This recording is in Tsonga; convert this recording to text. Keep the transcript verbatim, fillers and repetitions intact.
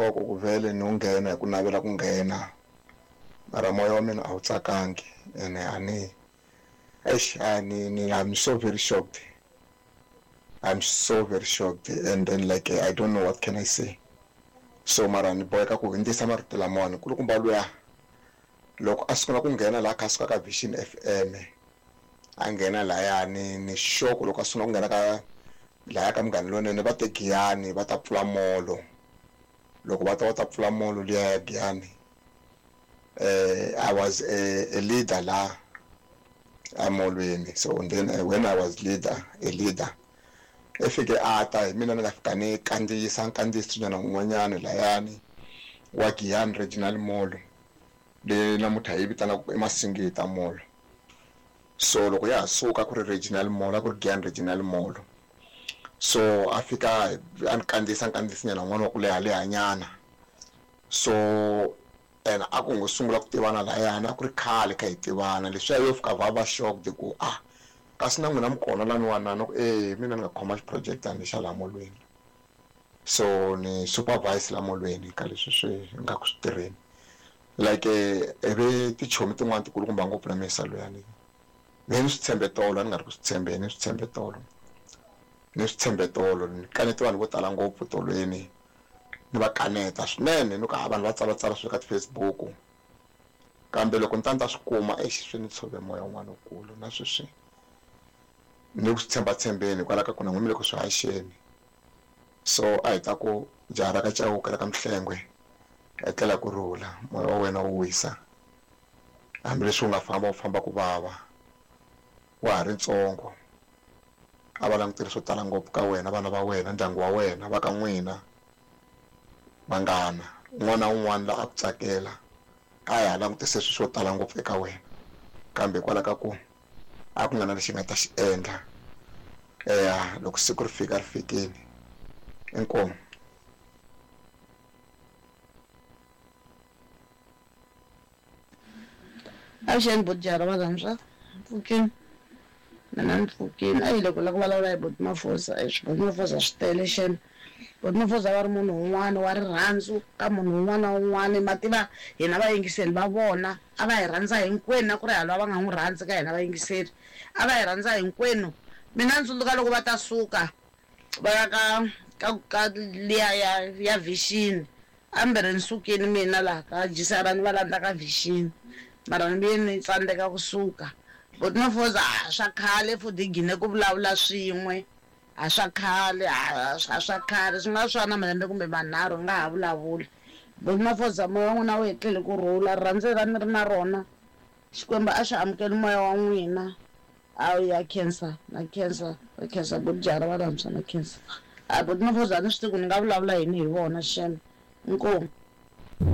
Koko ku vhele no nghena hi ku navela ku nghena mara moya wa mina a wu tsakangi ene a ni eish a ni ni I'm so very shocked. I'm so very shocked and then like I don't know what can I say. So mara ni boheka ku hundzisa marito lamawani kulukumba luya loko a sungula ku nghena laha kha a suka ka Vision F M a nghena lahayani ni xoko loko a sungula ku nghena ka lahaya ka Munghana Lonene va te Giyani va ta pfula molo loko va ta va ta pfula molo liya ya Giyani eh I was a, a leader la amolweni so and then uh, when I was leader a leader e fike a ta hi mina ni nga fika ni kandziyisa nkandziyiso nyana un'wanyana layani wa Giyani Regional Mall leyi namuntlha hi vitanaka i Masingita Mall. So loko ya ha suka ku ri Regional Mall a ku ri Giyani Regional Mall. So a fika a ni kandziyisa nkandziyiso nyana un'wana wa ku leha lehanyana. So ene a ku ngo sungula ku tivana layani a ku ri khale kha hi tivana leswiya yo fika va va shocked ku ah kasi na n'wina mi kona laniwani na ku eh mina ni nga khoma xiproject xa laha molweni. So ni supervise la molweni ka leswi swi nga ku swi tirheni like ivi tichomi tin'wani tikulukumba ngopfu na misa luyani ni swi tshembe tolo a ni nga ri ku swi tshembeni ni swi tshembe tolo ni swi tshembe tolo ni kanete vanhu vo tala ngopfu tolweni ni va kaneta swinene ni ku ha vanhu va tsalatsala swilo ka ti-Facebook kambe loko ni ta ni ta swi kuma exi swi ni tshove moya wun'wana wukulu na sweswi ni ku swi tshembatshembeni hikwalaho ka ku na n'wina mi le ku swi haxeni. So a hi ta ku jaha ra ka Chauke ra ka Mhlengwe etlela ku rhula moya wa wena wu wisa hambileswi wu nga famba wu famba ku vava wa ha ri ntsongo a va languteli swo tala ngopfu ka wena vana va wena ndyangu wa wena va ka n'wina vanghana un'wana na un'wana la a ku tsakela a hi ha langutise swilo swo tala ngopfu eka wena kambe hikwalaho ka ku a ku nga na lexi nga ta xi endla eya loko siku ri fika ri fikile inkomu. Avuxeni bojara va rhandza pfukini mina ni pfukini a hi loko la ku vulavula hi Buti Mafosa Buti Mafosa swi tele xana Buti Mafosa va ri munhu un'wana wa rirhandzu ka munhu un'wana na un'wana ma tiva hina vayingiseri va vona a va hi rhandza hinkwenu na ku ri halwa va nga n'wi rhandzi ka hina vayingiseri a va hi rhandza hinkwenu mina ndzi tsundzuka loko va ta suka va ya ka ka ka liya ya ya Vision ambere ni sukile mina laha ka Jisara ni va landza ka Vision mara ni vuye ni tsandzeka kusuka Buti Mafosa a swa khale futhi hi gine ku vulavula swin'we a swa khale a swa khale swi nga swa na malembe kumbe manharhu hi nga ha vulavuli Buti Mafosa moya wa n'wina wu hetlele ku rhula rirhandzu ra ni ri na rona Xikwembu a xi amukeli moya wa n'wina a ya khensa na khensa na khensa bojara va rhandza na khensa a Buti Mafosa a ni swi tivi ku ni nga vulavula yini hi vona xana inkomu.